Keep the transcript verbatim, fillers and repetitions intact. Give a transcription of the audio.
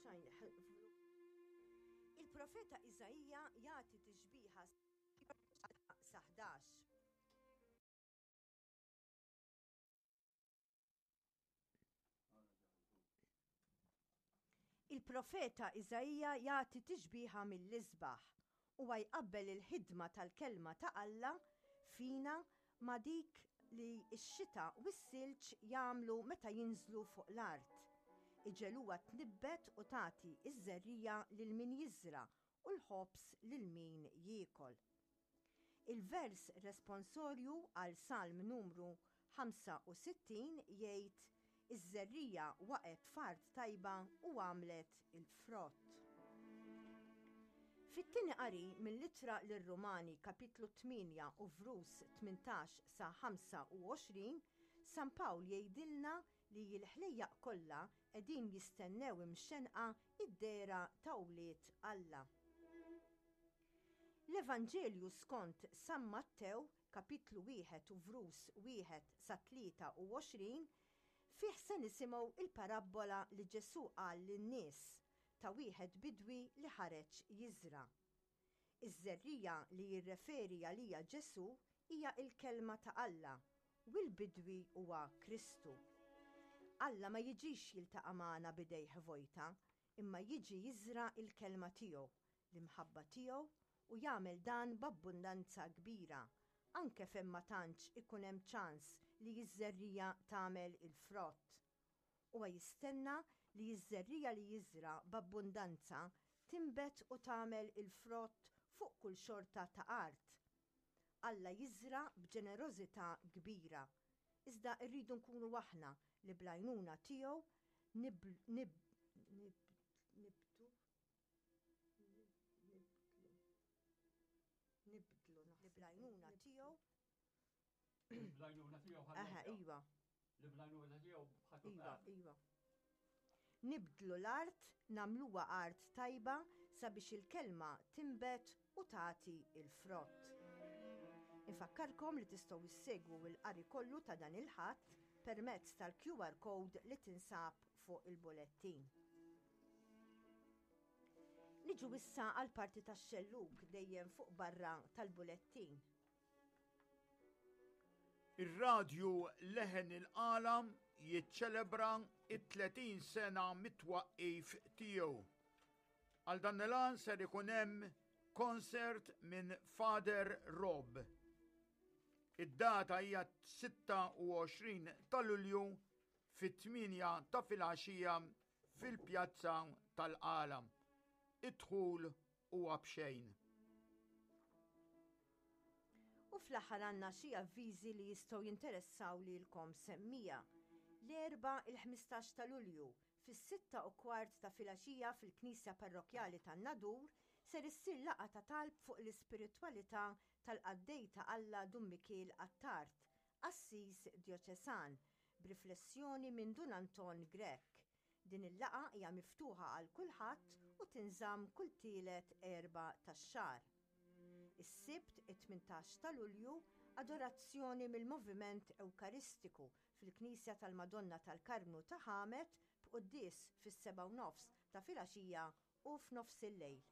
Xajn, Il-profeta Iżaija jagħti tixbiha sa ħdax. Il-profeta Iżaija jagħti tixbiha mill-isbaħ. Huwa jqabbel il-ħidma tal-kelma ta' Alla fina ma' dik li x-xita u s-silġ jagħmlu meta jinżlu fuq l-art. Iġegħluha tnibbet u tagħti ż-żerriegħa lil min jiżra' u l-ħobż lil min jiekol. Il-vers responsorju għal Salm numru ħamsa u sittin jgħid, Iż-żerriegħa waqgħet f'art tajba u għamlet il-frott. Fit-tieni qari mill-Ittra lir-Rumani kapitlu tmienja u vrus tmintax sa ħamsa u għoxrin, San Pawl jgħidilna li l-ħlejjaq kollha qegħdin jistennew imxennqa d-dehra ta' wlied Alla. L-Evanġelju skont San Mattew kapitlu wieħed u vrus wieħed sa tlieta u għoxrin fih se nisimgħu il-parabbola li Ġesù qal lin-nies ta' wieħed bidwi li ħareġ jiżra'. Iż-żerriegħa li jirreferi għaliha Ġesù hija l-Kelma ta' Alla u l-bidwi huwa Kristu. Alla ma jiġix jiltaqa' magħna b'idejh vojta, imma jiġi jiżra' l-Kelma tiegħu, l-imħabba tiegħu u jagħmel dan b'abbundanza kbira, anke fejn ma tantx ikun hemm ċans li ż-żerriegħa tagħmel il-frott. Huwa jistenna li ż-żerriegħa li jiżra' b'abbundanza tinbet u tagħmel il-frott fuq kull xorta ta' art. Alla jiżra' b'ġenerożità kbira, iżda rridu nkunu aħna li bl-għajnuna tiegħu nibdu nibdlu li bl-għajnuna tiegħu. Bl-għajnuna tiegħu Aha, iva. Li bl-għajnuna tiegħu ħadd Iva, iva. Nibdlu l-art, nagħmluha art tajba sabiex il-kelma tinbet u tagħti il-frott. Infakkarkom li tistgħu issegwu l-qari kollu ta' dan il-Ħadd permezz tal-Q R code li tinsab fuq il-bulettin. Niġu issa għal parti tax-xellug dejjem fuq barra tal-bulettin. Ir-radju Leħen il-Qala jiċċelebra it-tletin sena mit-twaqqif tiegħu. Għal dan il-għan ser ikun hemm concert minn Father Rob. Id-data hija sitta u għoxrin ta' Lulju fit-tmienja ta' filgħaxija fil-Pjazza tal-Qala. Id-dħul huwa b'xejn. U fl-aħħar għandna xi avviżi li jistgħu jinteressaw lilkom semmija. L-Erbgħa il-ħmistax ta' Lulju fis-sitta u kwart ta' filgħaxija fil-Knisja Parrokjali tan-Nadur ser issir laqgħa ta' talb fuq l-ispiritwalità tal-qaddej ta' Alla Dun Mikiel Attard, Assis Djoċesan, b'riflessjoni minn Dun Anton Grech. Din il-laqgħa hija miftuħa għal kulħadd u tinżamm kull tielet Erbgħa tax-xahar. Is-Sibt it-tmintax ta' Lulju adorazzjoni mill-Moviment Ewkaristiku fil-Knisja tal-Madonna tal-Karmnu ta' Ħamet b'quddies fis-sebgħa u nofs ta' filgħaxija u f'nofs il-lejl.